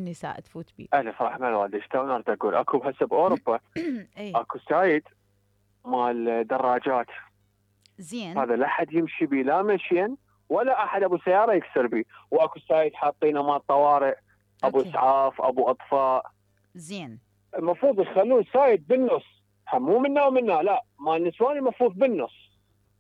النساء تفوت بيه. انا صراحه ما ادري شلون اريد اقول. اكو هسه باوروبا اي اكو سايد مال دراجات، زين. هذا لا احد يمشي بيه لا مشيا ولا احد ابو سياره يكسر بيه. واكو سايد حاطينه مال طوارئ، ابو اوكي اسعاف، ابو اطفاء. زين. المفروض يخلون سايد بالنص، مو منا ومنا، لا مال نسوان المفروض بالنص.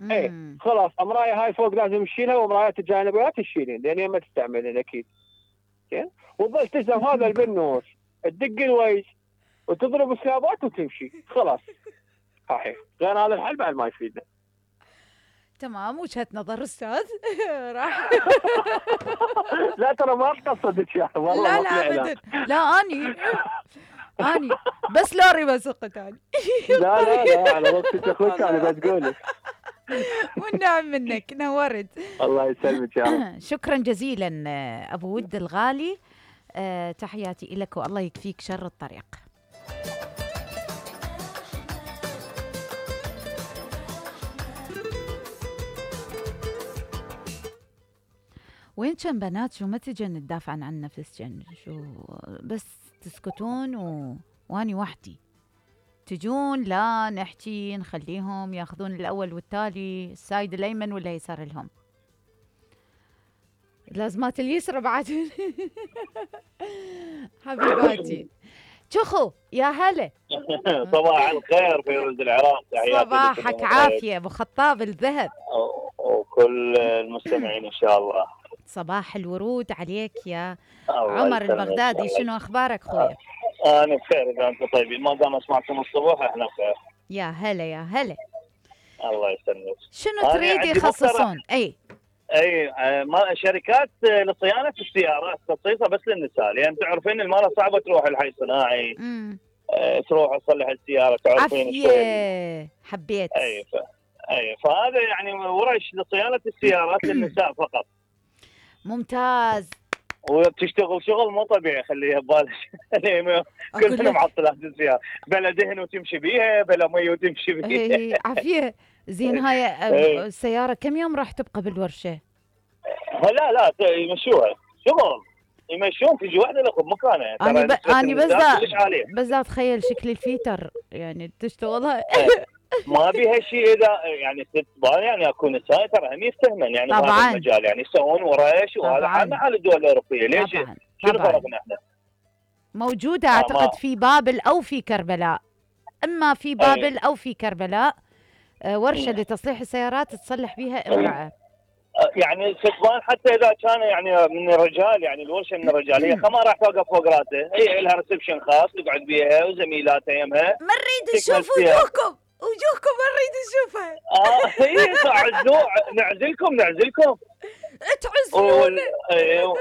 ايه خلاص امرايه هاي فوق لازم تشيلها، ومرايات الجانبيات تشيلين لان ما تستعملين اكيد. زين. وتظل تلزم هذا بالنص، تدق الويش وتضرب سلابات وتمشي خلاص. صحيح، غير هذا الحل بعد ما يفيدنا. تمام، وجهة نظر استاذ. راح. لا ترى ما قصدك يا والله، لا ما لا في اعلان. ابدا، لا اني بس لوري بسوق ثاني. لا لا لا، على وقتك اخوك انا بتقولك. والنعم منك، نورت. الله يسلمك يا رب. شكرا جزيلا ابو ود الغالي. تحياتي لك والله يكفيك شر الطريق. وين كان بنات؟ شو ما تجن تدافع عن نفسكن؟ شو بس تسكتون واني وحدي تجون لا نحكي نخليهم ياخذون الاول والتالي، السايد الايمن ولا يسار لهم؟ لازمات اليسرى بعد. حبيباتي شخو يا هلا. صباح الخير فيروز العراق، تحياتي صباحك عافيه ابو خطاب الذهب وكل المستمعين ان شاء الله. صباح الورود عليك يا عمر البغدادي. شنو اخبارك خويا؟ انا بخير اذا انتم طيبين، ما دام اسمعكم الصبح احنا بخير. يا هلا يا هلا. الله يسلمك. شنو تريد يخصصون؟ اي شركات لصيانه السيارات خصيصه بس للنساء، لان تعرفين المراه صعبه تروح الحي الصناعي. تروح تصلح السياره، تعرفين عافيه حبيت. فهذا يعني ورش لصيانه السيارات للنساء فقط. ممتاز. وبتشتغل شغل مو طبيعي، خليها ببالك. كلنا معطلات السياره، بلا دهن وتمشي بيها، بلا مي وتمشي بيها. عافيه. زين هاي السياره كم يوم راح تبقى بالورشه؟ لا يمشوها شغل، يمشون تجي واحده لكم مكانها. انا بس اتخيل شكل الفيتر يعني تشتغلها. ما بيها شيء اذا يعني ست يعني اكون نساء ترى هم يفتهمن يعني بهذا المجال، يعني يسوون ورش وهذا عامه على الدول الاوروبيه. ليش؟ شنو فرقنا احنا؟ موجوده اعتقد في بابل او في كربلاء، اما في بابل او في كربلاء ورشه لتصليح السيارات تصلح بها امراه. يعني الستبان حتى اذا كان يعني من الرجال، يعني الورشه من الرجال، هي ما راح توقف فوق راسه، هي لها ريسبشن خاص تقعد بيها وزميلاتها يمها. ما نريد نشوف وجوهكم ما نريد نشوفها. هي نعزلكم تعزلون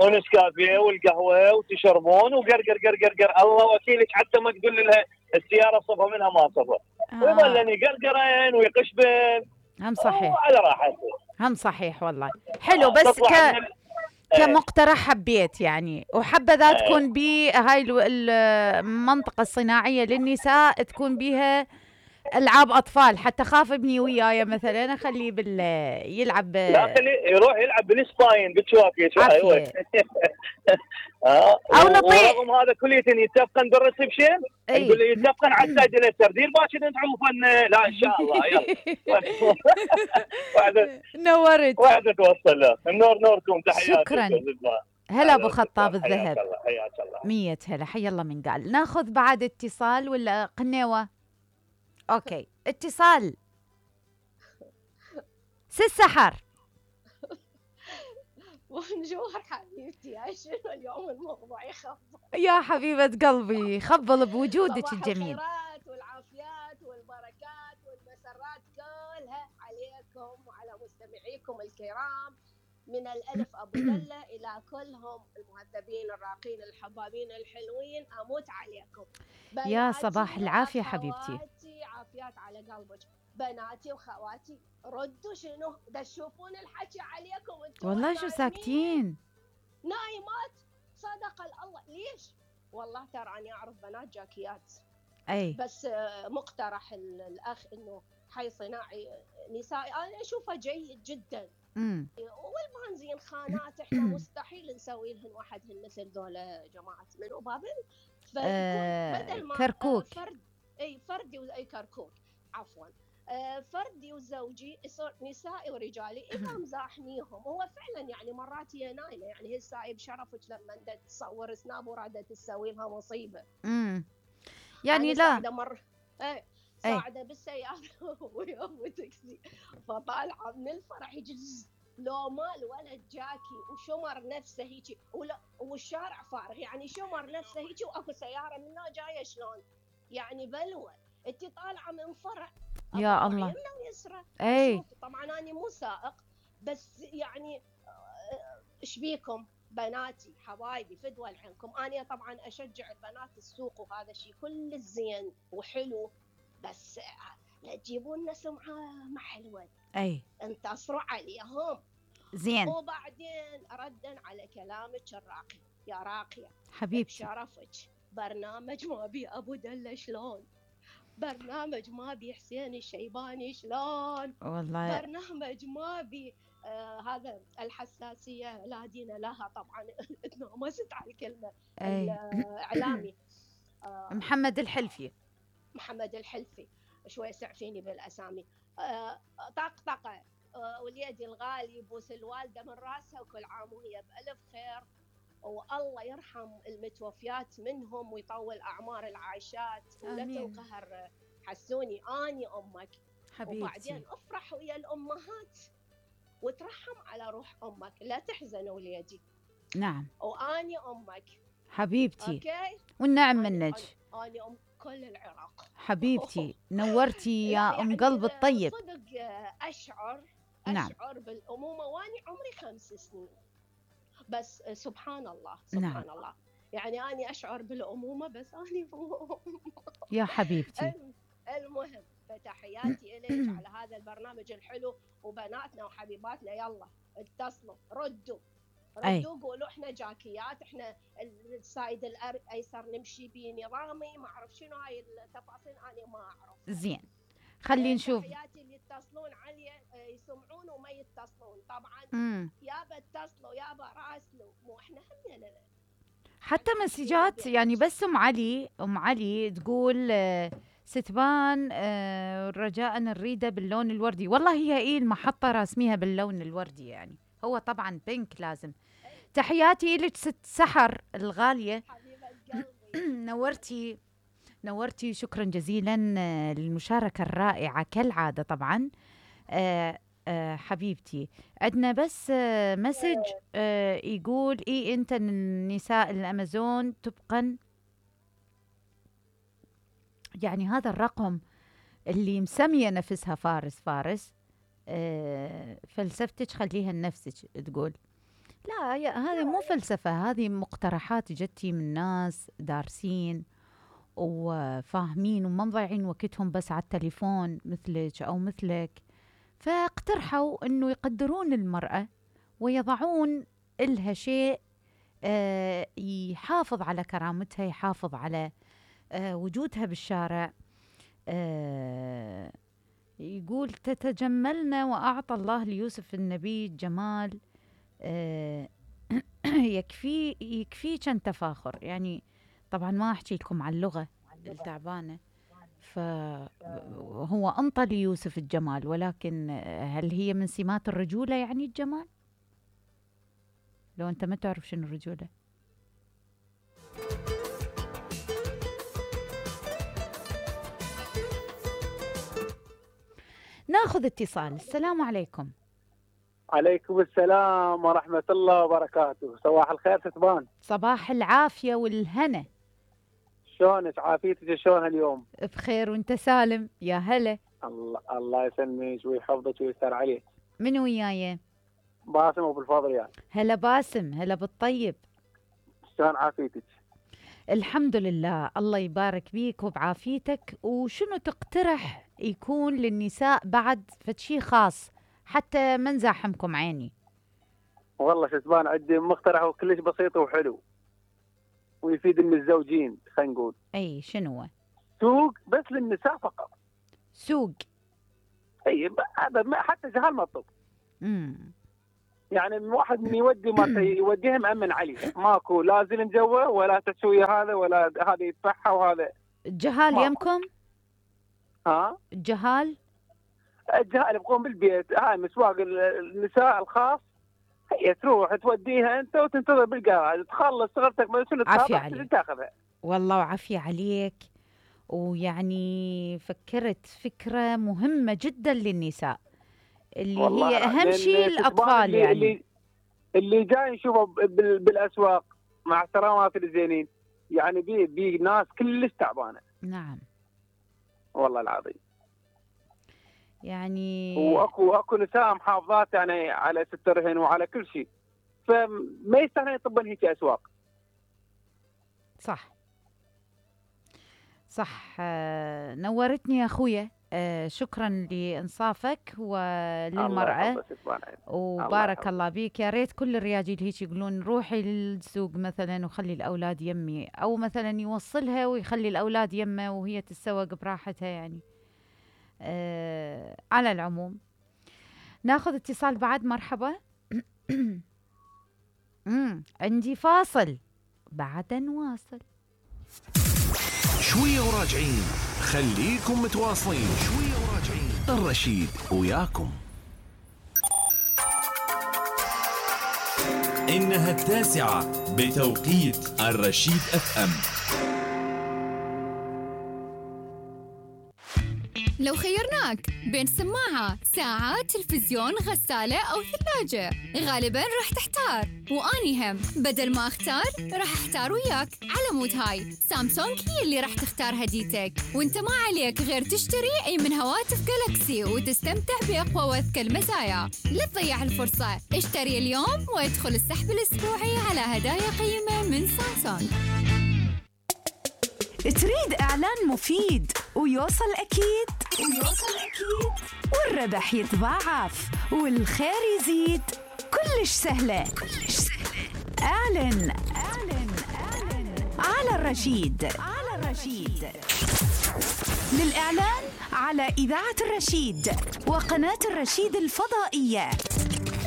ونسكافيه والقهوه وتشربون وقرقر قرقر. الله وكيلك حتى ما تقول لها السياره صفها منها ما صفها، ويظلن يقرقرين ويقشبن. هم صحيح على راحته، هم صحيح والله. حلو. بس كمقترح حبيت يعني، وحبذا تكون بهاي المنطقة الصناعية للنساء تكون بيها ألعاب أطفال، حتى خاف ابني وياي مثلا أخليه يلعب. لا خليه يروح يلعب بالسباين بتشوفي. أو نطيح. ورغم هذا كله يتفقن بالريسبشن، نقول له يتفقن على السايد اليسار، دير باكر نتعوفن. لا ان شاء الله يلا. نورت. واحدة توصل له. نوركم، تحياتي. شكرا. هلا ابو خطاب الذهب. حياك الله. 100 هلا. حي الله من قال. ناخذ بعد اتصال ولا قنيوه؟ اوكي اتصال. سحر. بونجور حبيبتي، شنو اليوم الموضوع يخبل يا حبيبة قلبي؟ خبل بوجودك الجميل. الخيرات والعافيات والبركات والمسرات كلها عليكم وعلى مستمعيكم الكرام، من الألف أبو دلة إلى كلهم المهذبين الراقين الحبابين الحلوين. أموت عليكم يا صباح العافية حبيبتي. عافيات على قلبك. بناتي وخواتي ردوا، شنو دا تشوفون الحكي عليكم انتم والله شو ساكتين نايمات؟ صدق الله. ليش؟ والله ترى أنا أعرف بنات جاكيات. بس مقترح الأخ إنه حي صناعي نسائي أنا أشوفه جيد جدا، والبنزين خانات احنا مستحيل نسوي لهن وحدهن مثل ذولا جماعه منو بابل. بدل ما كركوك. فردي اي كركوك عفوا. فردي وزوجي يصير نسائي ورجالي اذا مزاحميهم. هو فعلا يعني مرات هي نايمه، يعني هسه بشرفك لما انت تصور سناب ورادة تسوي لها مصيبه. يعني لا ساعده ساعده بالسياره ويوم تاكسي، فطالعه من الفرح يجز لو ما الولد جاكي وشمر نفسه هيجي والشارع فارغ، يعني شمر نفسه هيجي واكو سياره منها جايه شلون يعني بلوه. انت طالعه من فرح يا الله يمنى ويسرى. طبعا انا مو سائق بس يعني ايش بيكم بناتي حبايبي فدوى لعنكم. انا طبعا اشجع البنات السوق وهذا الشيء كل زين وحلو، بس لا تجيبون لنا سمعه ما حلوه. انتصروا عليهم زين. وبعدين ردا على كلامك الراقي يا راقيه حبيبتي بشرفك، برنامج ما بي ابو دله شلون، برنامج ما بي حسين الشيباني شلون، والله برنامج ما بي هذا الحساسيه لا دين لها. طبعا تنامست على الكلمه. الاعلامي محمد الحلفي شوي سعفيني بالاسامي. طقطقه وليدي الغالي يبوس الوالده من راسها وكل عام وهي بالف خير، والله يرحم المتوفيات منهم ويطول اعمار العايشات ولا تنقهر. حسوني اني امك حبيبتي، وبعدين افرح ويا الامهات وترحم على روح امك، لا تحزن وليدي. نعم واني امك حبيبتي. اوكي والنعم منك. اني ام كل العراق حبيبتي. نورتي يا ام قلب الطيب. صدق اشعر بالامومه واني عمري 5 سنين بس. سبحان الله يعني اني اشعر بالامومه بس اني يا حبيبتي. المهم فتحياتي اليك على هذا البرنامج الحلو، وبناتنا وحبيباتنا يلا اتصلوا ردوا قولوا احنا جاكيات، احنا السايد الايسر نمشي بنظامي ما اعرف شنو هاي التفاصيل انا ما اعرف. زين خلينا نشوف. تحياتي اللي يتصلون علي يسمعون وما يتصلون طبعا. يابا اتصلوا يابا راسلوا، مو احنا همنا حتى مسجات يعني. بس ام علي تقول ستبان رجاء نريده باللون الوردي. والله هي المحطة راسميها باللون الوردي، يعني هو طبعا بينك لازم. تحياتي لك ست سحر الغالية، نورتي شكرا جزيلا للمشاركة الرائعة كالعادة. طبعا حبيبتي عندنا بس مسج يقول انت النساء الامازون طبقا يعني هذا الرقم اللي مسمية نفسها فارس فلسفتك خليها لنفسك تقول. لا هذه مو فلسفة، هذه مقترحات جتي من ناس دارسين وفاهمين وما مضيعين وقتهم بس على التليفون مثلك أو مثلك، فاقترحوا أنه يقدرون المرأة ويضعون إلها شيء يحافظ على كرامتها، يحافظ على وجودها بالشارع. يقول تتجملن وأعطى الله ليوسف النبي الجمال يكفي كان تفاخر. يعني طبعا ما أحكي لكم عن اللغة التعبانة، فهو أنطى ليوسف الجمال، ولكن هل هي من سمات الرجولة يعني الجمال؟ لو أنت ما تعرف شنو الرجولة. ناخذ اتصال. السلام عليكم. عليكم السلام ورحمة الله وبركاته. صباح الخير ستبان. صباح العافية والهنا. شلونك؟ عافيتك شلونها اليوم؟ بخير وانت سالم. يا هلا. الله يسلمك ويحفظك ويستر عليك. من وياي؟ باسم ابو الفضل. يعني هلا باسم، هلا بالطيب. شلون عافيتك؟ الحمد لله، الله يبارك بيك وبعافيتك. وشنو تقترح يكون للنساء بعد فشي خاص حتى ما نزاحمكم عيني؟ والله ستبان عندي مقترح وكلش بسيط وحلو ويفيد الزوجين. خلينا نقول شنو هو؟ سوق بس للنساء فقط. سوق؟ هذا حتى جهال مطلوب. يعني واحد من يودي ما يوديها مأمن عليه، ماكو لا زلم جوا ولا تسوي هذا ولا هذا يدفعها وهذا. الجهال يمكم؟ ها؟ الجهال يبقون بالبيت. هاي مسواق النساء الخاص، هي تروح توديها انت وتنتظر بالجراج تخلص شغلتك ما شنو تاخذها. والله وعافية عليك. ويعني فكرت فكرة مهمة جدا للنساء اللي هي أهم شيء الأطفال. يعني اللي جاي نشوفه بالأسواق مع احترامات الزينين، يعني بي ناس كلش تعبانة. نعم والله العظيم. يعني واكو نساء محافظات يعني على سترهن وعلى كل شيء، فما يستاهلون يطبون هيك اسواق. صح. نورتني يا اخويا. شكرا لانصافك وللمرأة وبارك الله بيك. يا ريت كل الرجال هيك يقولون روحي للسوق مثلا وخلي الاولاد يمي، او مثلا يوصلها ويخلي الاولاد يمه وهي تتسوق براحتها. يعني على العموم ناخذ اتصال بعد. مرحبا. عندي فاصل بعد نواصل. شوية وراجعين، خليكم متواصلين. شوية وراجعين، الرشيد وياكم. إنها 9 بتوقيت الرشيد FM. لو خيرناك بين سماعة، ساعة، تلفزيون، غسالة أو ثلاجة، غالباً راح تحتار. وأني هم بدل ما أختار راح أحتار وياك. على مود هاي سامسونج هي اللي راح تختار هديتك، وانت ما عليك غير تشتري أي من هواتف جالكسي وتستمتع بأقوى وأذكى المزايا. لا تضيع الفرصة، اشتري اليوم وادخل السحب الأسبوعي على هدايا قيمة من سامسونج. تريد إعلان مفيد ويوصل أكيد والربح يتضاعف والخير يزيد؟ كلش سهلة. اعلن على الرشيد. للإعلان على إذاعة الرشيد وقناة الرشيد الفضائية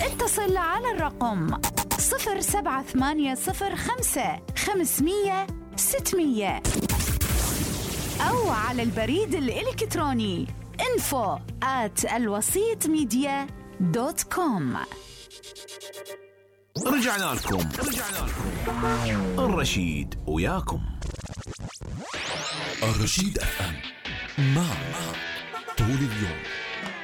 اتصل على الرقم 07805 أو على البريد الإلكتروني info@alwasitmedia.com. رجعنا لكم. الرشيد وياكم. الرشيد FM معك طول اليوم.